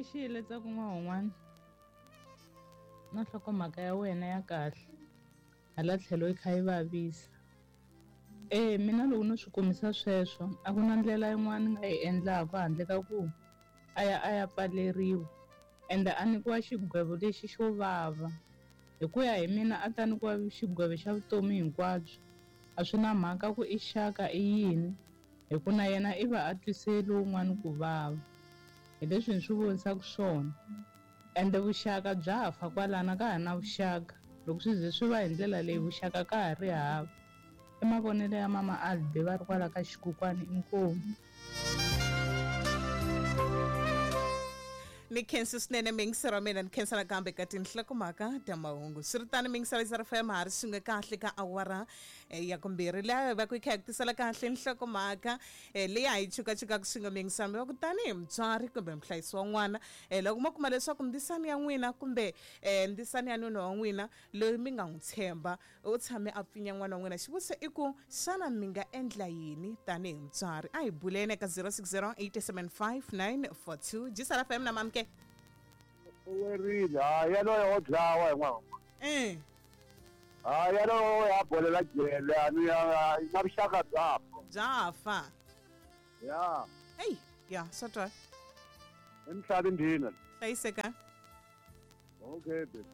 Mixile Ntsako N'wahun'wana na nhlokomhaka ya wena ya kahle hala tlhelo yi kha yi vavisa. E mina loko no swi kumisa sweswo a ku na ndlela yin'wana ni nga yi endlaka handle ka ku a ya a ya pfaleriwa ende a nyikiwa xigwevo lexi xo vava. Hi ku ya hi mina a ta nyikiwa xigwevo xa vutomi hinkwabyo a swi na mhaka ku i xaka i yini hi ku na yena i va a twise lowun'wani ku vava. Hi leswi ni swi vonisaka swona ende vuxaka bya fa kwalano a ka ha na vuxaka loko swi ze swi va hi ndlela leyi vuxaka ka ha ri hava. I mavonelo ya mama Albi va ri kwala ka xikukwani inkomu. Ni khensi swinene miyingiseri wa mina ni khensa nakambe ka tinhlokomhaka ta mahungu swi ri tano miyingiseri ya FM ha ri swin'we kahle ka awara eh, ya kumbirhi laha va ku yi kha yi ku tisela kahle nhlokomhaka eh, leyi a yi chukachukaka swin'we miyingiseri wa ku tanihi mutswari kumbe muhlayisi wa n'wana eh, loko mo kuma leswaku ndzisani ya n'wina kumbe eh, ndzisani ya nuna wa n'wina loyi mi nga n'wi tshemba U tshame a pfinya n'wana wa n'wina. Xivutiso i ku, xana mi nga endla yini tanihi mutswari? A hi buleni eka 060 875 942. Jisala FM na mamke. U werile hayi yaloye wo dlawa hi n'wana. Hayi yaloye ya bolela jele a ni ya na vuxaka bya fa. Bya fa. Ya. Eyi, ya swa twala. Emisaveni ndhina. Hlayiseka. Okay baby.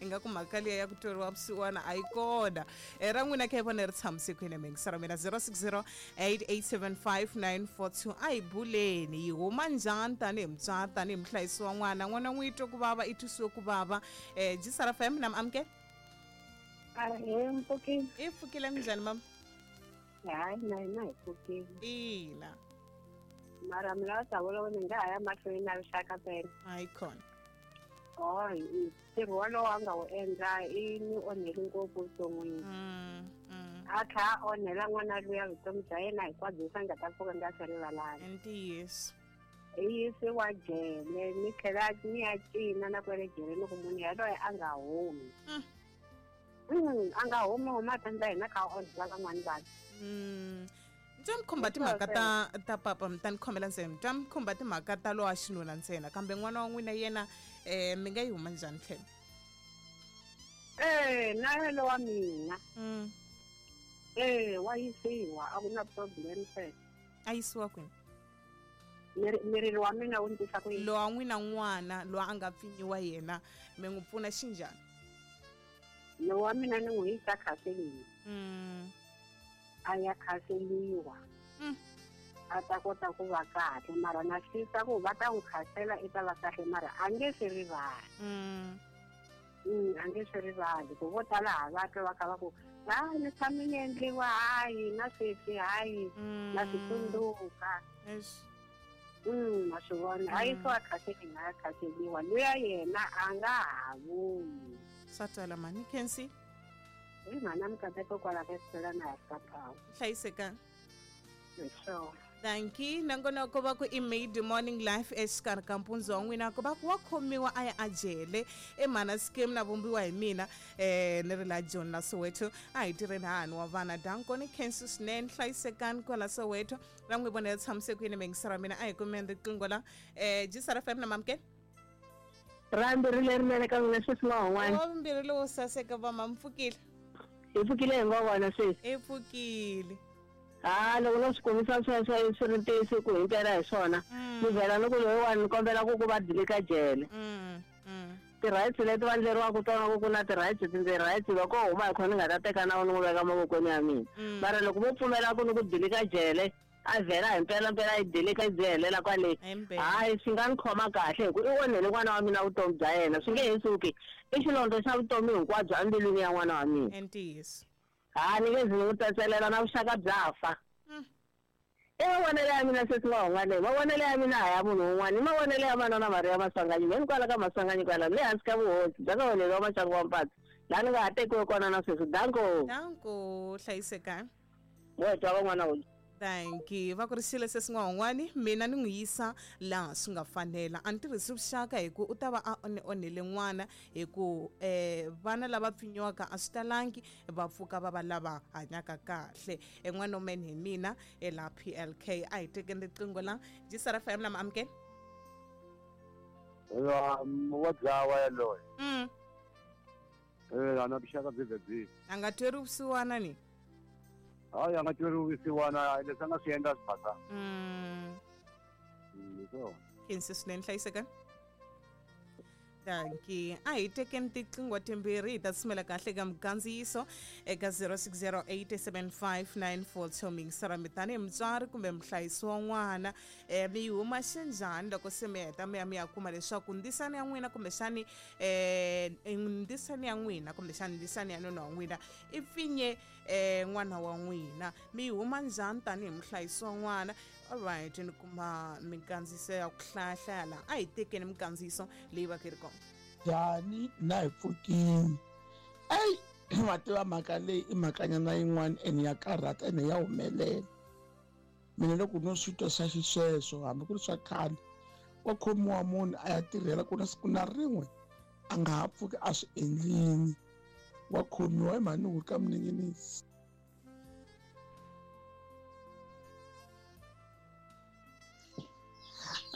Ingaku mhaka liya ya ku tweriwa vusiwana a yi kona. E ra n'wina kha yi vona ri tshamise kwini miyingisero mina 060 8875942 a hi buleni yi huma njhani tanihi mutswari tanihi muhlayisi wa n'wana n'wana n'wi twe ku vava i twisiwe ku vava um jisara fm na amukela Ahee, mpfukile. I pfukile minjhani mama? Hayi, na hina hi pfukile. Ina. Mara mi lava ta vula ni nga ha ya mahlweni na rixaka pela. Hayi khona. Hayi, ntirho wolowo a nga wu endla i ni onheli ngopfu vuton'wini. A tlha a onhela n'wana luya vutomi bya yena hinkwabyo leswi a nga ta pfuka nga swi rivalanga. I ntiyiso. I yisiwa jele ni tlhela ni ya cina na kwele jele ni ku munhu yaloye a nga humi. A nga humi huma ta ndla hina kha onhela van'wani vanhu. Ni twa mi khumba timhaka ta ta papa mi ta ni khomela ntsena ni twa mi khumba timhaka ta lowa xinuna ntsena kambe n'wana wa n'wina yena um mi nga yi huma njhani tlhelo Eh, na yena wa mina. Eh, wa yisiwa a ku na problem se. A yisiwa kwini? Miriri wa mina wu ni tisa ku yini? Lowa n'wina n'wana lowa a nga pfinyiwa yena mi n'wi pfuna xinjhani? Lowa mina ni n'wi yisa counseling. A ya khaseliwa. A ta kota ku va kahle mara na swi twisisa ku va ta n'wi khasela i ta va kahle mara a nge swi rivali. A nge swi rivali ku vo tala ha va twa va kha va ku hayi ni tshame ni endliwa hayi na sweswi hayi na swi tsundzuka. Ma swi vona a yisiwa khaseling a ya khaseliwa luya yena a nga ha vuyi. Swa twala mhani Khensi. Hi mhana Mikateko kwala ka Xitela na ha ka Power. Hlayisekani. Hi swona. Danki nongonoko va ku i made morning life exikarhi ka mpundzu wa n'wina ku va ku wa khomiwa a ya a jele i mhana scheme na vumbiwa hi mina eh ni ri la John la Soweto a hi tirheni hahani wa vana danko ni khensi swinene hlayisekani kwala Soweto ra n'wi vona ya tshamise ku yini miyingisero ya mina a hi kumeni riqingho la eh Jisara FM na mamukela Ra mbirhi lerinene ka n'wina sweswi n'wahun'wana. Wa vumbirhi lowo saseka va mi pfukile. Hi pfukile hi ngo vona sweswi. I pfukile. Ha loko no swi kumisa sweswo swi ri ntiyiso ku himpela hi swona. Ni vhela ni ku loyiwani ni kombela ku ku va dilika jele. Ti-rights leti va ndleriwaka tona ku ku na ti-rights ti-rights loko huma hi khona ni nga ta teka nawu ni n'wi veka mavokweni ya mina. Mara loko vo pfumela ku ni ku dilika jele a vhela hi mpela mpela yi dilika yi byi helela kwale hayi swi nga ni khoma kahle hi ku i onhele n'wana wa mina vutomi bya yena swi nge he suki i xilondza xa vutomi hinkwabyo embilwini ya n'wana wa mina I ntiyiso ha ni nge zi ni n'wi tsetselela na vuxaka bya fa i mavonelo ya mina sesi n'wahunga leyi mavonelo ya mina a ya munhu un'wana i mavonelo ya manana Mariya Maswanganyi mheni kwala ka Maswanganyi kwala le hansi ka vuhosi bya ka Holeli wa Maxangu wa Mpatsi laha ni nga ha tekiwe kona na sweswi danko Danko hlayisekani Mo twa van'wana u. Thank you. Va ku ri xilo se swin'wan'wani mina ni n'wi yisa laha swi nga fanela. A ni tirhisi vuxaka hi ku u ta va a ni onhele n'wana hi ku um vana lava pfinyiwaka a swi talangi va pfuka va va lava hanyaka kahle. E n'wana man hi mina e laha PLK. A hi tekeni riqingho la. Jisara FM na mi amukela. Wa dlawa yaloye. Ana vuxaka byi byi byi. A nga tweri vusiwana ni? Hayi, a nga tweri vusiwana, leswi a nga swi endla swi basa. Khensi swinene, hlayiseka. Dankie. A hi tekeni tiqingho timbirhi hi ta tsumela kahle ka mikandziyiso eka 06087594 mingisara mi tanihi mutswari kumbe muhlayisi wa n'wana mi yi huma xinjhani loko se mi heta mi ya mi ya kuma leswaku ndisani ya n'wina kumbexani ndisani ya n'wina kumbexani ndisani ya nuna wa n'wina i pfinye n'wana wa n'wina, mi yi huma njhani tanihi muhlayisi wa n'wana? Alright, ni kuma mikandziyiso ya ku hlayahlaya laha. A hi tekeni mikandziyiso leyi va ka yi ri kona. Njhani na hi pfukini? Eyi, wa tiva mhaka leyi i mhakanyana yin'wana ene ya karhata ene ya humelela. Mina loko no swi twa swa xisweswo, hambi ku ri swa khale, wa khomiwa munhu a ya tirhela ku na siku na rin'we a nga ha pfuki a swi endlini, wa khomiwa hi mhani wu ka muninginisi.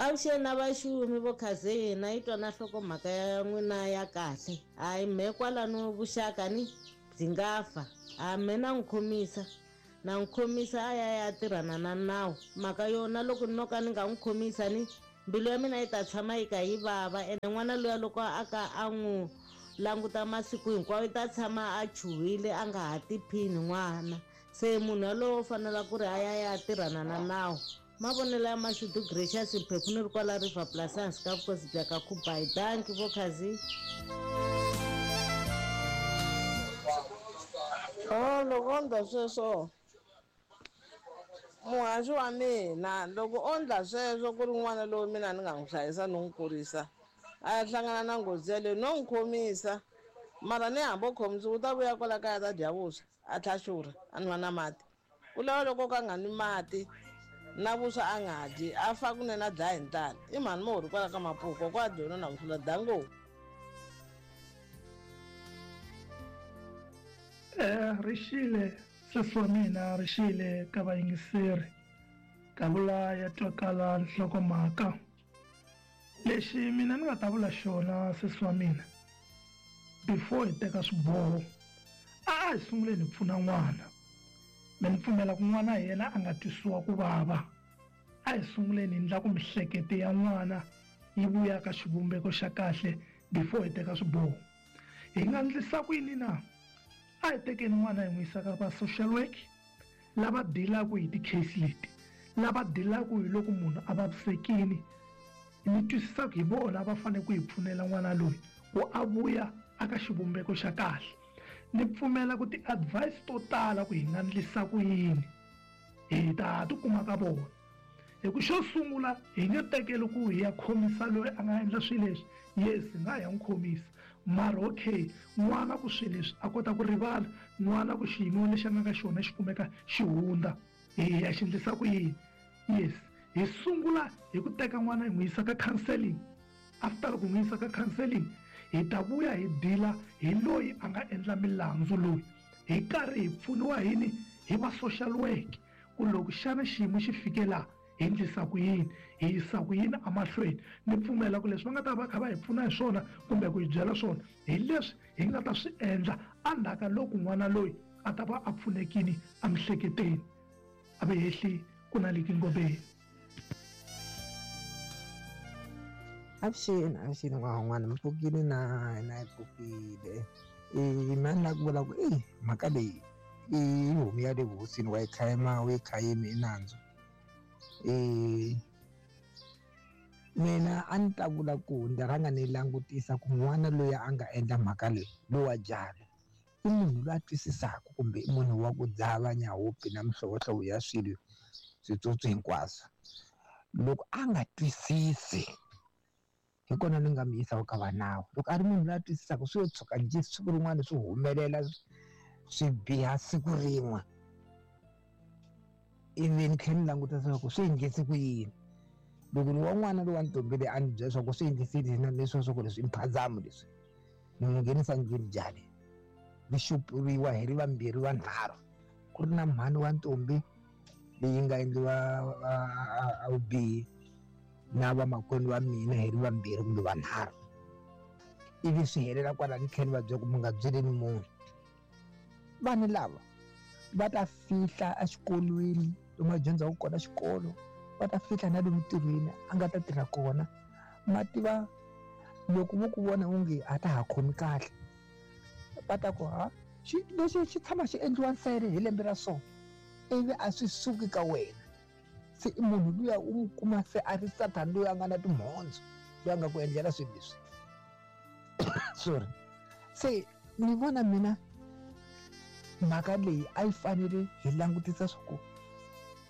Avuxeni na vaxumi vo khazeni, yi twa na nhlokomhaka ya n'wina ya kahle. Hayi mehe kwalano vuxaka ni byi nga fa. A mehe na n'wi khomisa, na n'wi khomisa a ya ya tirhana na nawu. Mhaka yona loko no ka ni nga n'wi khomisa ni mbilu ya mina yi ta tshama yi ka yi vava, ene n'wana luya loko a ka a n'wi languta masiku hinkwawo yi ta tshama a chuhile a nga ha tiphini n'wana. Se munhu yalowo u fanela ku ri a ya ya tirhana na nawu. Mavonelo ya Mashudu Gracious Mphephu ni ri kwala River Plus ehansi ka vukosi bya ka Khubayi. Dankie vo Khazi. Oh, loko o ndla sweswo muhaxi wa mina, loko o ndla sweswo ku ri n'wana lowu mina ni nga n'wi hlayisa ni n'wi kurisa, a ya hlangana na nghozi yaleyo no n'wi khomisa, mara ni hambi o khomisiwa u ta vuya kwala kaya ta dya vuswa a tlha xurha a nwa na mati. Ku lava loko ka nga nwi mati na vuswa a nga dyi, a fa kunene a dlaya hi ndlala. I mhani mo ri kwala ka Mapuku kwa dyona na vusula dango. Rixile sesi wa mina, rixile ka vayingiseri. Kavula ya twakala nhlokomhaka. Lexi mina ni nga ta vula xona sesi wa mina, before hi teka swiboho, a hi sunguleni hi pfuna n'wana. Me ni pfumela ku n'wana hi yena a nga twisiwa ku vava. A hi sunguleni hi ndla ku mihlekete ya n'wana yi vuya ka xivumbeko xa kahle before hi teka swiboho. Hi nga ndlisa ku yini na? A hi tekeni n'wana hi n'wi yisa ka va social work lava dealaka hi ti-case leti, lava dealaka hi loko munhu a vavisekile. Ni twisisa ku hi vona va fanele ku hi pfunela n'wana loyi ku a vuya aka xivumbeko xa kahle. Ni pfumela ku ti-advice to tala ku hi nga ndlisa ku yini hi ta ti kuma ka vona. Hi ku xo sungula hi nge tekeli ku hi ya khomisa loyi a nga endla swilo leswi, yes hi nga ya n'wi khomisa, mara okay n'wana ku swilo leswi a kota ku rivala, n'wana ku xiyimo lexi a nga ka xona xi kumeka xi hundza, hi ya xi ndlisa ku yini? Yes, hi sungula hi ku teka n'wana hi n'wi yisa ka counseling. After ku n'wi yisa ka counseling, hi ta vuya hi deala hi loyi a nga endla milandzu loyi, hi karhi hi pfuniwa hini hi va social work ku loko xana xiyimo xi fike laha hi ndlisa ku yini, hi yisa ku yini emahlweni. Ni pfumela ku leswi va nga ta va kha va hi pfuna hi swona kumbe ku hi byela swona hi leswi hi nga ta swi endla endzhaku loko n'wana loyi a ta va a pfunekile emihleketweni, a ve hehli ku na liki ngobeni. Avuxeni, avuxeni n'wana, mi pfukile na hina hi pfukile. Mina ni lava ku vula ku mhaka leyi i homu ya le vuhosini, wa yi khayima, u yi khayimi i nandzu. Mina a ni ta vula ku ndzi rhanga ni langutisa ku n'wana loyi a nga endla mhaka leyi, lowa jali, i munhu loyi a twisisaka kumbe i munhu wa ku dzava nyahupi na mihlovohlovo ya swilo switsotso hinkwaswo. Loko a nga twisisi, hi kona ni nga mi yisaka ka va nawu. Loko a ri munhu loyi a twisisaka, swi yo tshuka njhe siku rin'wana swi humelela swi biha siku rin'we, ivi ni tlhela ni languta leswaku swi endlise ku yini. Loko ni wa n'wana lowa ntombi leyi a ni byela leswaku swi endlise na leswi swa ku leswi i mphazamo leswi, ni n'wi nghenisa ndlwini njhani, ri xupuriwa hi ri vambirhi vanharhu, ku ri na mhani wa ntombi leyi nga endliwa a vubihi, na vamakwenu va mina hi ri vambirhi kumbe vanharhu, ivi swi helela kwalani, tlhela ni va byela ku mi nga byeleni munhu. Vanhu lava va ta fihla exikolweni lomu a dyondzaka kona xikolo, va ta fihla na le mintirhweni a nga ta tirha kona. Ma tiva loko vo ku vona onge a ta ha khomi kahle, va ta ku ha lexi xi tshama xi endliwa nsele hi lembe ra so, ivi a swi suki ka wena. Se i munhu luya u n'wi kuma se a ri sathani loyi a nga na timhondzo, loyi a nga ku endlela swilo leswi. Sorry. Se ni vona mina mhaka leyi a yi fanele hi langutisa swa ku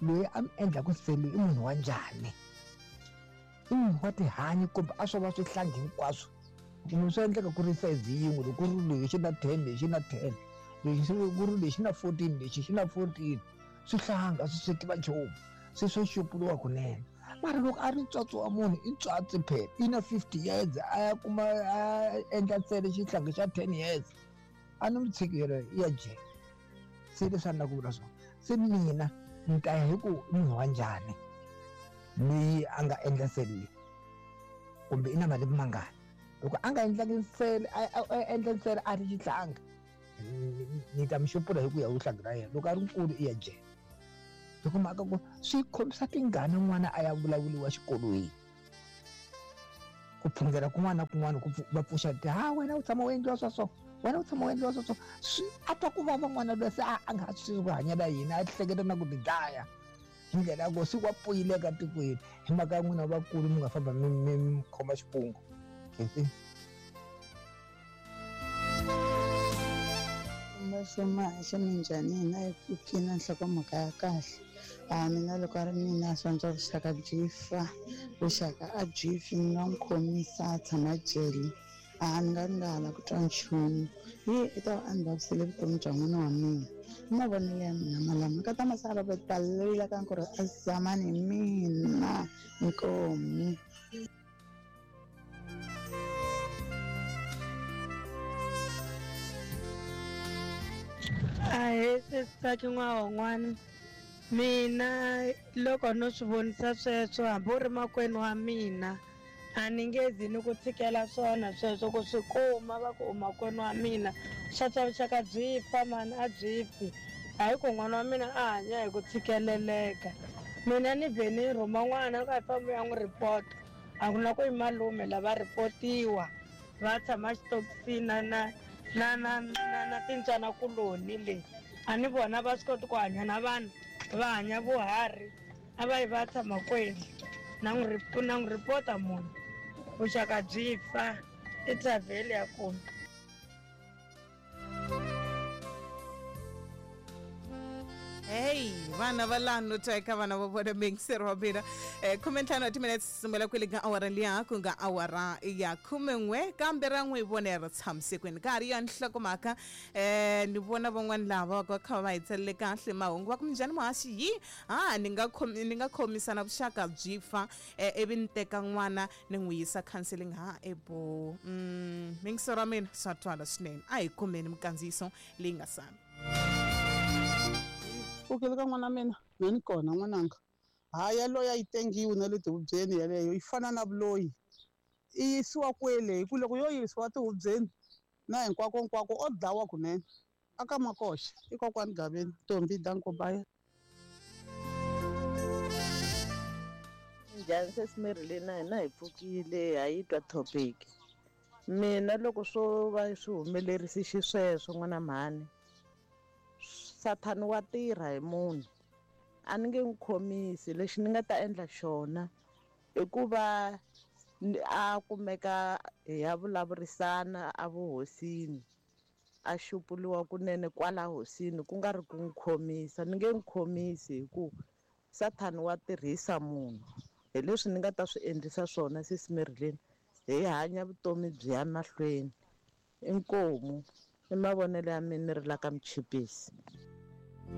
loyi a mi endlaku nsele i munhu wa njhani, i munhu wa tihanyi kumbe a swo va swihlangi hinkwaswo. Kumbe swi endleka ku ri size yin'we, loko ku ri lexi xi na 10, lexi xi na 10, lexi ku ri lexi na 14, lexi xi na 14, swihlanga swi swi tiva nchumu, se swo xupuriwa kunene. Mara loko a ri ntswatsi wa munhu, i ntswatsi phela, i na 50 years, a ya kuma a endla ntsena xihlangi xa 10 years, a ni n'wi tshiki yena, i ya jele. Se leswi a ni lava ku vula swona, se mina ni ta ya hi ku i munhu wa njhani loyi a nga endla nsele leyi, kumbe i na malembe mangani. Loko a nga endlangi nsele, a endla nsele a ri xihlangi, ni ta mi xupula hi ku ya vuhlangi ra yena. Loko a ri nkulu i ya jele. Loko mhaka ku swi khomisa tingana n'wana a ya vulavuriwa xikolweni, ku phungela kun'wana na kun'wana, ku va pfuxa ti, ha wena u tshama u endliwa swa so, wena u tshama u endliwa swa so. Swi a twa ku vava n'wana loyi se a nga ha swi ku hanyela yini, a hleketa na ku tidlaya hi ndlela ya ku siku wa pfuyile eka tikweni hi mhaka ya n'wina vakulu mi nga famba mi khoma xikungu. Khensi. Maxa minjhani? Hina hi pfukile nhlokomhaka ya kahle. A mina loko a ri mina swa antswa vuxaka byi fa, vuxaka a byi fi, ni nga n'wi khomisa a tshama jele. A ni nga ri nga ha la ku twa nchumu, hi i ta va a ni vavisele vutomi bya n'wana wa mina. I mavonelo ya mina malama ka ta masala va balelile ka ku ri a zamani hi mina inkomu. Ahee sesi n'wana, mina loko no swi vonisa sweswo hambi u ri makwenu wa mina a ni nge zi ni ku tshikela swona sweswo ku swi kuma va ku u makwenu wa mina. Swa swa vuxaka byi fa mani, a byi fi. Hayi ku n'wana wa mina a hanya hi ku tshikeleleka. Mina ni vhe ni rhuma n'wana ku a hi fambi u ya n'wi report-a, a ku na ku i malume lava reportiwa va tshama xitokisini na na na na na na tintswanakuloni le. A ni vona va swi koti ku hanya na vanhu, va hanya vuharhi, a va yi va tshama kwenu. Na n'wi na n'wi report-a munhu, vuxaka byi fa, i travel ya kona. Hey, vana va lano twa eka vana va vona muyingiseri wa mina. 15 wa timinetse sungula kwele ka awara liya ku nga awara ya 11, kambe ra n'wi vone ri tshamisekweni ka ha ri ya nhlokomhaka. Ni vona van'wani lava va kha va hi tsalele kahle mahungu va ku minjhani muhaxi yi ha ni nga khomi ni nga khomisana vuxaka byi fa, ivi ni teka n'wana ni n'wi yisa counseling ha ebo. Muyingiseri wa mina swa twala swinene, a hi kumeni minkandziyiso leyi nga sala. Pfukile ka n'wana mina, me ni kona n'wananga. Ha yaloye a yi tengiwi na le tihubyeni yaleyo, yi fana na vuloyi. I yisiwa kwele hi ku loko yo yisiwa tihubyeni na hinkwako hinkwako o dlawa kunene. Aka Makoxa i kokwani Gaveni, Ntombi Dankobaya. Njhani sesi Mary na hina hi pfukile ha yi twa topic. Mina loko swo va swi humelerise xisweswo n'wana mhani, Sathani wa tirha hi munhu. A ni nge n'wi khomisi, lexi ni nga ta endla xona i ku va a kumeka hi ya vulavurisana a vuhosini, a xupuliwa kunene kwala hosini, ku nga ri ku n'wi khomisa. Ni nge n'wi khomisi hi ku Sathani wa tirhisa munhu. Hi leswi ni nga ta swi endlisa swona sesi Marilyn, hi hanya vutomi byi ya mahlweni. Inkomu i mavonelo ya mina ni ri la ka Muchipisi.